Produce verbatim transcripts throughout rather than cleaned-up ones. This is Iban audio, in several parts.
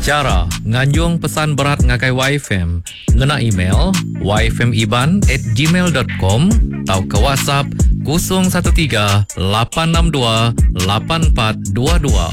Chara nganjung pesan berat ngagai Y F M ngena email y f m iban at gmail dot com atau ke WhatsApp kosong satu tiga lapan enam dua lapan empat dua dua.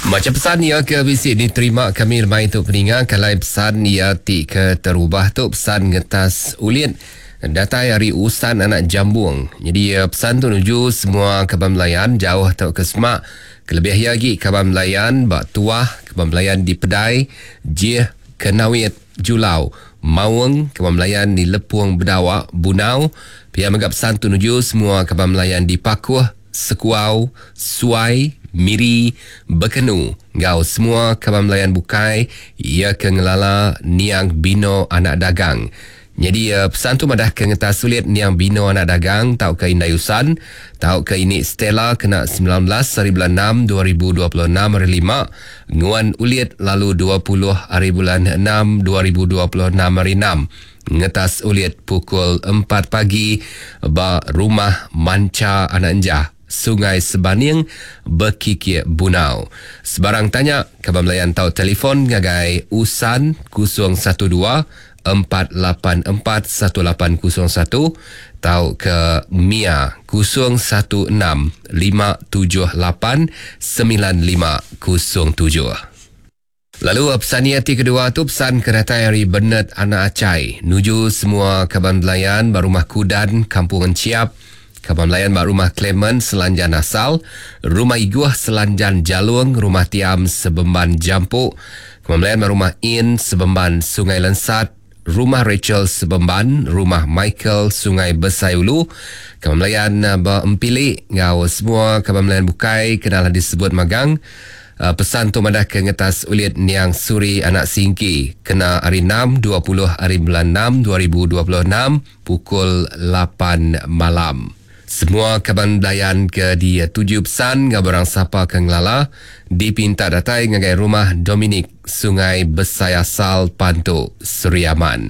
Macam pesan ia ke bisi diterima kami lemai tu peninga, kalai pesan ia ti ke terubah tu pesan ngetas ulit datai hari Usan Anak Jambung. Jadi pesan tu nuju semua kaban melayan jauh atau ke semak. Kelebih lagi kaban melayan bak tuah, kaban melayan di Pedai, Jih, Kenawit, Julau, Maung, kaban melayan di Lepung Bedawak, Bunau. Pihak megap pesan tu nuju semua kaban melayan di Pakuh, Sekuau, Suai, Miri, Bekenu. Ngau semua kaban melayan bukai ia ke ngelala Niang Bino Anak Dagang. Jadi uh, pesan tu madah ke ngetas sulit Niang Bino Anak Dagang tau ke Indai Usan tau ke ini Stella kena sembilan belas hari bulan enam dua ribu dua puluh enam hari lima, nguan ulit lalu dua puluh hari bulan enam dua ribu dua puluh enam hari enam, ngetas ulit pukul empat pagi ba rumah Manca Anak Enjah, Sungai Sebaning, Bekikik Bunau. Sebarang tanya kaban melayan tau telefon ngagai Usan kosong satu dua empat lapan empat satu lapan kosong satu tau ke Mia kosong satu enam lima tujuh lapan sembilan lima kosong tujuh. Lalu pesan ni hati kedua tu pesan kedatai hari Bernard Anak Acai nuju semua kaban belayan ba rumah Kudan Kampung Enciap, kaban belayan ba rumah Clement Selanjan Asal, rumah Iguh Selanjan Jalung, rumah Tiam Sebemban Jampuk, kaban belayan ba rumah In Sebemban Sungai Lensat, rumah Rachel Sebemban, rumah Michael Sungai Besai Ulu, kaban belayan ba Empilik ngau semua kaban belayan bukai kenalah disebut magang. Uh, pesan tu madah ke ngetas ulit Niang Suri Anak Singki kena hari enam dua puluh hari bulan enam dua ribu dua puluh enam pukul lapan malam. Semua kaban belayan ke di tujuh pesan ngau barang sapa ke ngelala dipinta datai ngagai rumah Dominic Sungai Besai Asal Pantu Seri Aman.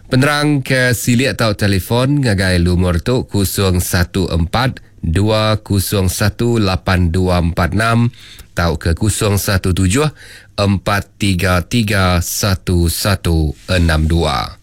Penerang ke silik tau telefon ngagai lumur tu kosong satu empat dua kosong satu lapan dua empat enam tau ke kosong satu tujuh empat tiga tiga satu satu enam dua.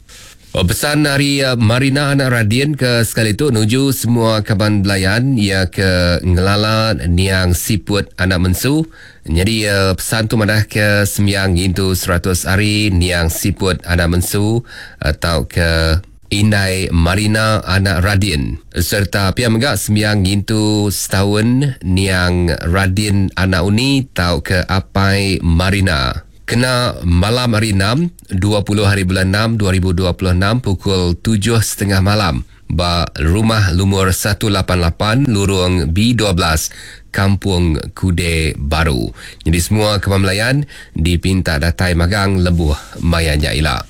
Oh, pesan hari uh, Marina Anak Radin ke sekali tu nuju semua kaban belayan ia ke ngelala Niang Siput Anak Mensu. Jadi uh, pesan tu madah ke sembiang ngintu seratus hari Niang Siput Anak Mensu atau ke Indai Marina Anak Radin. Serta pihak megak sembiang ngintu setahun Niang Radin Anak Uni tau ke Apai Marina. Kena malam hari enam, dua puluh hari bulan enam dua ribu dua puluh enam pukul tujuh setengah malam ba rumah lumur satu lapan lapan Lurung B dua belas Kampung Kude Baru. Jadi semua kemamlayan dipinta datai magang lebuh maya nyaila.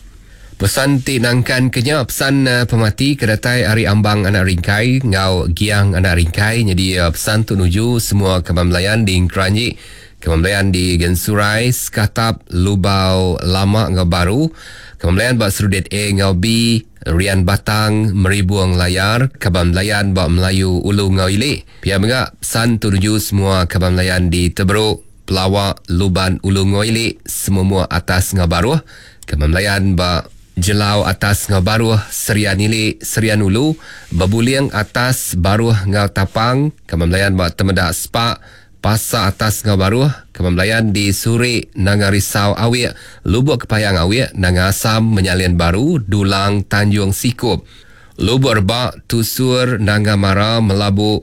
Pesan ti nangkan kenya pesan uh, pemati kedatai hari Ambang Anak Ringkai ngau Giang Anak Ringkai. Jadi uh, pesan tu nuju semua kemamlayan di Keranji, kemamlayan di Gensurai, Skatap, Lubau Lama ngau Baru, kemamlayan bak Serudit A ngau B, Rian Batang, Meribuang Layar, kemamlayan bak Melayu Ulu ngau Ilik. Pihak mengak pesan tu nuju semua kemamlayan di Teberuk, Pelawak, Luban Ulu ngau Ilik, semua atas ngau Baruh, kemamlayan bak Jelau atas ngau Baruh, Serian Ilik, Serian Ulu, Bebuling atas Baruh ngau Tapang, kemamlayan bak Temedak Sepak, Pasar atas ngau Baruh, kemamlayan di Suri, Nanga Risau Awik, Lubuk Kepayang Awik, Nanga Asam, Menyalian Baru, Dulang, Tanjung Sikup, Lubuk Rebak, Tusur, Nanga Mara, Melabu,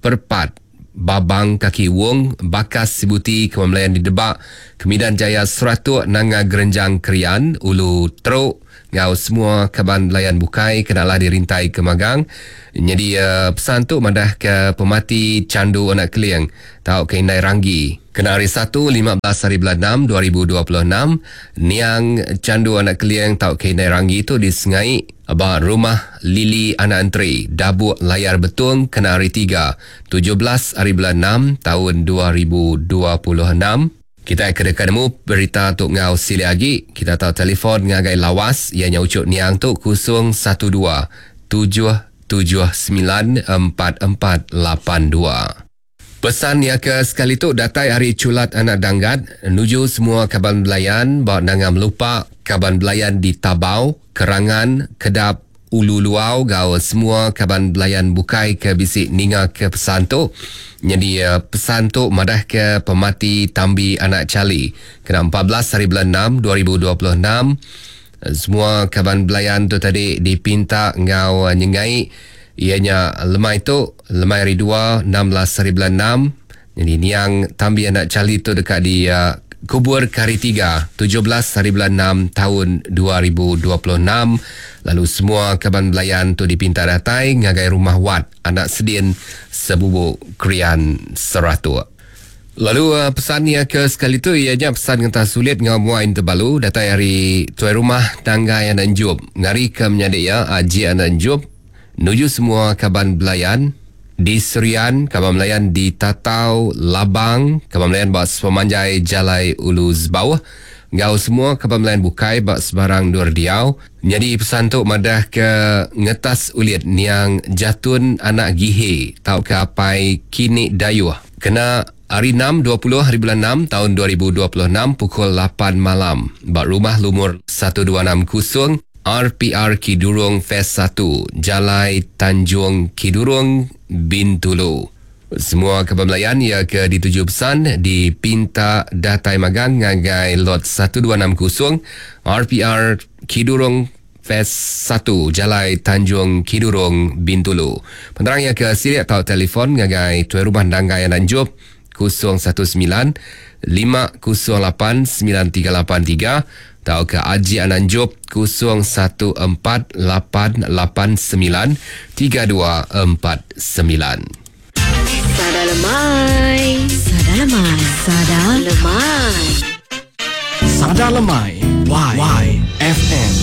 Perpat, Babang Kaki Wong, Bakas Sibuti, kemamlayan di Debak, Kemidan Jaya Seratuk, Nanga Gerenjang Krian, Ulu Teruk, ngau semua kaban belayan bukai kenalah dirintai ke magang. Jadi uh, pesan tu madah ke pemati Candu Anak Keling tau ke Indai Ranggi. Kena hari satu lima belas hari bulan enam dua ribu dua puluh enam Niang Candu Anak Keling tau ke Indai Ranggi tu disengai ba rumah Lili Anak Entri, Dabuk Layar Betung kena hari tiga tujuh belas hari bulan enam tahun dua ribu dua puluh enam. Kita kena nemu berita tu ngau sili agi. Kita tahu telefon ngagai lawas ianya ucuk niang tu kosong satu dua tujuh tujuh sembilan empat empat lapan dua. Pesan ya ke sekali tu datai hari Culat Anak Danggat nuju semua kaban belayan ba Nanga Melupa, kaban belayan di Tabau, Kerangan, Kedap, Ulu Luau gau semua kaban belayan bukai ke bisi ninga ke pesan tu. Jadi eh, pesan tu madah ke pemati Tambi Anak Chali kena empat belas hari bulan enam dua ribu dua puluh enam. Semua kaban belayan tu tadi dipinta ngau nyengai ianya lemai tu, lemai hari dua, enam belas hari bulan enam. Jadi niang Tambi Anak Chali tu dekat di, uh, kubur ke hari tiga, tujuh belas hari bulan enam tahun dua ribu dua puluh enam. Lalu semua kaban belayan tu dipinta datai ngagai rumah Wat Anak Sedin Sebubu Krian Seratuk. Lalu, uh, pesan ya ke sekali tu ianya pesan ngentah sulit ngau muain terbalu datai hari tuai rumah Tanggai Anak Enjup ngari ke menyadik ya Aji Anak Enjup nuju semua kaban belayan di Serian, kaban belayan di Tatau Labang, kaban belayan bak sepemanjai Jalai Ulu Zebauh, ngau semua kaban belayan bukai bak sebarang dur diau. Jadi pesan tu madah ke ngetas ulit niang Jatun Anak Gihe tau ke apai kini dayuh. Kena hari enam dua puluh hari bulan enam tahun dua ribu dua puluh enam pukul lapan malam bak rumah lumur satu dua enam kosong R P R Kidurong Phase satu, Jalai Tanjung Kidurong, Bintulu. Semua kaban belayan ia ke dituju pesan dipinta datai magang ngagai lot satu dua enam kosong R P R Kidurong Phase satu, Jalai Tanjung Kidurong, Bintulu. Penerang ia ke sirik atau telefon ngagai tuai rumah Danggai Ananjup kosong satu sembilan lima kosong lapan sembilan tiga lapan tiga atau ke Aji Ananjup kosong satu empat lapan lapan sembilan tiga dua empat sembilan. Sada Lemai. Sada Lemai. Sada Lemai. Sada Lemai. Y. Y. F M.